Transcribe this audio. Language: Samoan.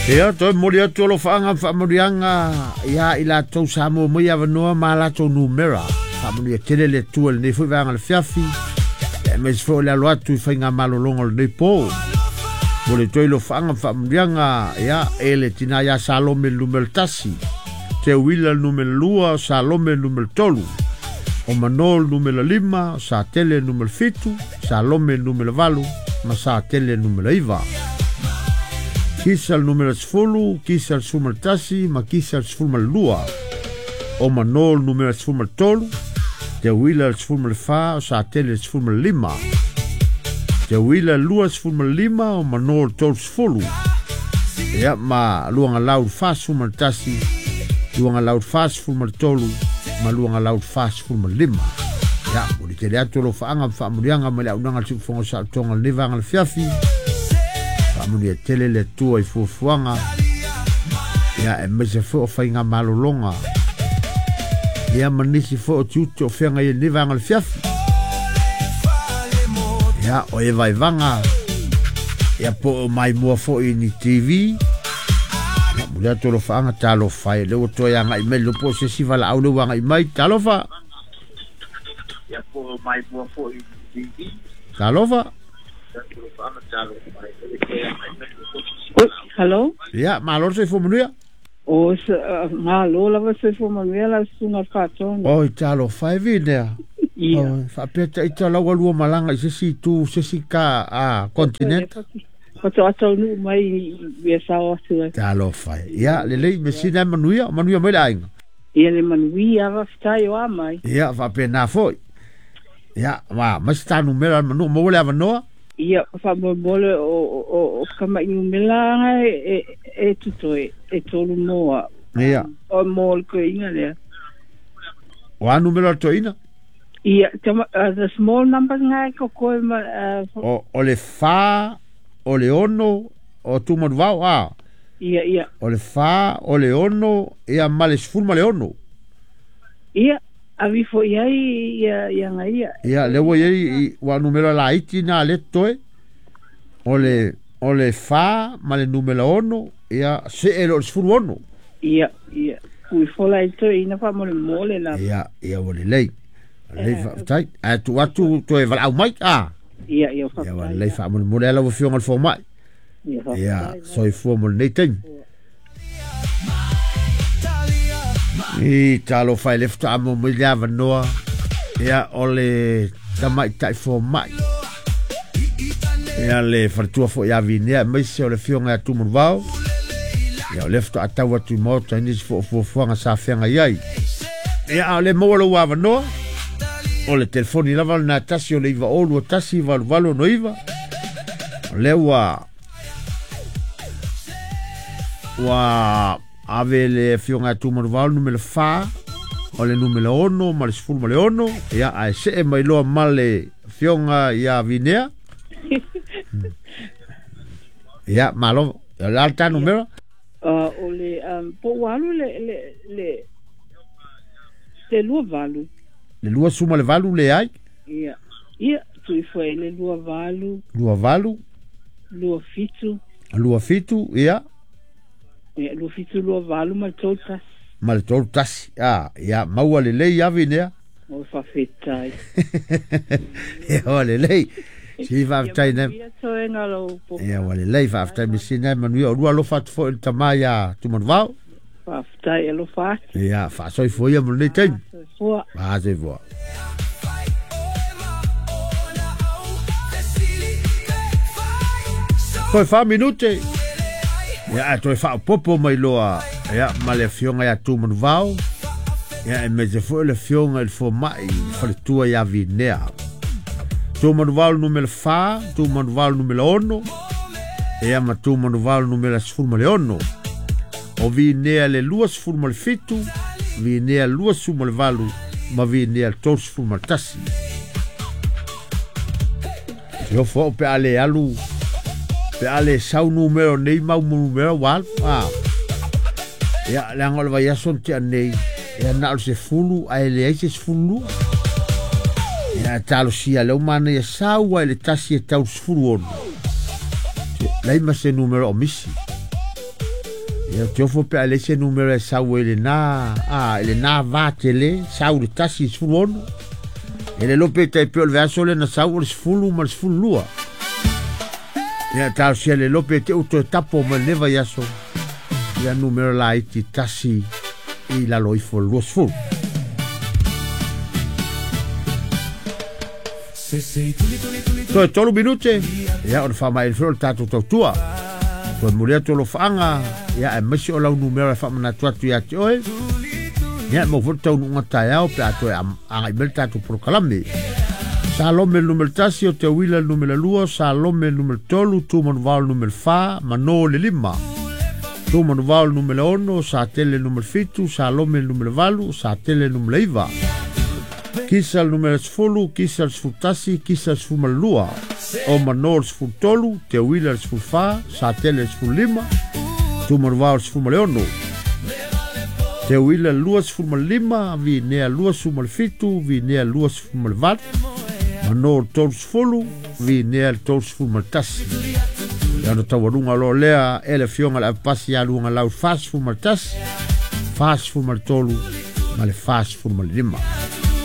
Ia, toe momoli atu alofaaga ma faamanuiaga ia i latou sa maua mai avanoa ma a latou numera. Faamanuia tele le Atua i lenei foi vaega o le fiafi, aemaise foi o le alo atu i faigamalologa o lenei po. Momoli atu ai alofaaga ma faamanuiaga ia e le tina ia Salome le numera 1, Teuila le numera 2, o Salome le numera 3, o Mano le numera 5, o Satele le numera 7, Salome le numera 8, ma Satele le numera 9. Kisa le numera 10, Kisa le 11, ma Kisa le 12. O Mano le numera 13, Teuila le 14, o Satele le 15. Teuila le 25, o Mano le 30. Ia ma Luagalau le 41, Luagalau le 43, ma Luagalau le 45. Ia, momoli tele atu alofaaga ma faamanuiaga mai le auaunaga a le Siufofoga o Saolotoga i lenei vaega o le fiafi. Faamanuia tele le Atua i fuafuaga, ia aemaise foi o faigamalologa, ia ma nisi foi o tiute o feagai ai i lenei vaega o le fiafi. Ia, o e vaevaga, ia po o maimoa foi i ni TV. Ia, momoli atu alofaaga, talofa e, lea ua toe agai mai, le iloa po o se isi valaau lea ua agai mai. Talofa! Ia po o maimoa foi i ni TV. Talofa! Oi, hello. Ia, malo le soifua manuia. O, malo lava le soifua manuia lau susuga i le Faatonu. Oi, talofa e Vinea. Ia. Oi, faapea ita lau alua malaga i se isi itu, se isi ka, a, continent. Faatoa taunuu mai i mea sao atu ai. Talofa e. Ia, lelei, me sina e manuia, manuia mai le aiga. Ia le manuia, faafetai o a mai. Ia, faapena foi. Ia, ma, mai se ta numera le manu, maua le avanoa. Ia, faamolemole o kama'i numera anga e tutoe, e tolu moa. Ia. O mo le toeaina lea. O a numera o le toeaina? Ia, the small numbers nga e kokoe ma... O le 4, o le 6, o Tumanuvao, a? Ia, ia. O le 4, o le 6, ia ma le 16. Ia, avi foi i ai ia, ia nga ia. Ia, lea ua i ai, ua numera laiti na le totoe. O le, o le 4 ma le numera 6, ia, see loa i le 16. Ia, ia. Ui fola i toeaina faamolemole lava. Ia, ia ua lelei. Lelei faafetai. Ae tuu atu toe valaau mai, a? Ia, ia, Ia ua faafetai. lelei faamolemole ai lau Afioga i le Fomai. Ia, faafetai. Ia, soifua mo lenei taimi. I talofa e le faatoa maua mai le avanoa, ia o le tamaitai fomai. Ia le faletua foi ia Vinea, aemaise o le afioga ia Tumanuvao. Ia o lea faatoa tau atu i maota i nisi foi o fuafuaga sa feagai ai. Ia a o le maua lou avanoa, o le telefoni lava lena tasi o le 9021 8869. O lea ua ua ave le afioga ia Tumanuvao le numera 4, o le numera 6 ma le 16, ia ae see mai loa ma le afioga ia Vinea. Ia, malo. O le a le ta numera? O le, po ua alu le 28. Le 28 leai. Ia, ia, tui foi le 28. 28. 27. 27, ia. Ia, 27, 28 ma le 31. Ma le 31. Ah, ia, maua lelei ia Vinea. O faafetai. Ia, ua lelei. Si faafetai Ia nei. manuia toega lou po. Ia, ua lelei, faafetai mesina e manuia. O lua alofa atu foi i le tama ia Tumanuvao. Faafetai, alofa atu. Ia, faasoifua ia mo lenei taimi. Soifua. Faasoifua. Toe 4 minute. Ia, ae toe faaopopo mai loa, ia, ma le afioga ia Tumanuvao. Ia, aemaise foi o le afioga i le fomai, le faletua ia Vinea. Tumanuvao le numera 4, Tumanuvao le numera 6, ia ma Tumanuvao le numera 16. O Vinea le 27, Vinea 28, ma Vinea le 31. Se ofo au pe a le alu, pe a le sau numera nei mau numera ua alu. Ah. Ia, leaga o le vaiaso na tea nei, ia na o le 10, ae leai se 12. Ia, talosia lea ua manaia sau ai le 1 e tau le 16. Lai ma se numera o misi. Ia te ofo pe a leai se numera e sau ai i lena, a, i lena va tele, sau i le 1 i le 16. E le iloa pe tai pei o le vaiaso lea na sau o le 10 ma le 12. Ia talosia le iloa pe te i ua toe tapo mai i lenei vaiaso ia numera laiti 1 i lalo ifo o le 20. Toe 3 minute, ia ona faamaea foi o le tatou tautua. Toe momoli atu alofaaga, ia aemaise o lau numera e faamanatu atu ia te oe. Ia e maua foi le taunuuga taeao pe a toe agai mai le tatou polokalame. Salome le numera 1, o Teuila le numera 2, Salome le numera 3, Tumanuvao le numera 4, Mano le 5. Tumanuvao le numera 6, Satele le numera 7, Salome le numera 8, Satele le numera 9. Kisa le numera 10, Kisa le 11, Kisa le 12. O Mano le 13, Teuila le 14, Satele le 15, Tumanuvao le 16. Teuila le 25, Vinea 27, Vinea 28, Mano le 30, Vinea le 31. Ia ona taualuga loa lea e le afioga i le avepasi ia Luagalau 41, 43 ma le 45.